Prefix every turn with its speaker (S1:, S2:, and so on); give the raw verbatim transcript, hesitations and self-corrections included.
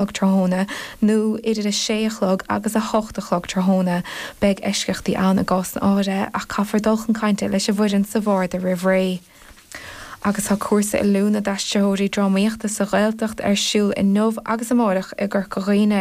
S1: chlog tráthnóna nó idir a sé a chlog agus a hocht a chlog tráthnóna. Beidh eisceachtaí ann i gcás áirithe ach caithfear dul chun cainte leis an bhfoireann sa bharda roimh ré. Agus tá cúrsa oiliúna d'aistritheoirí drámaíochta sa Ghaeltacht ar siúl inniu agus amárach i gCorca Dhuibhne.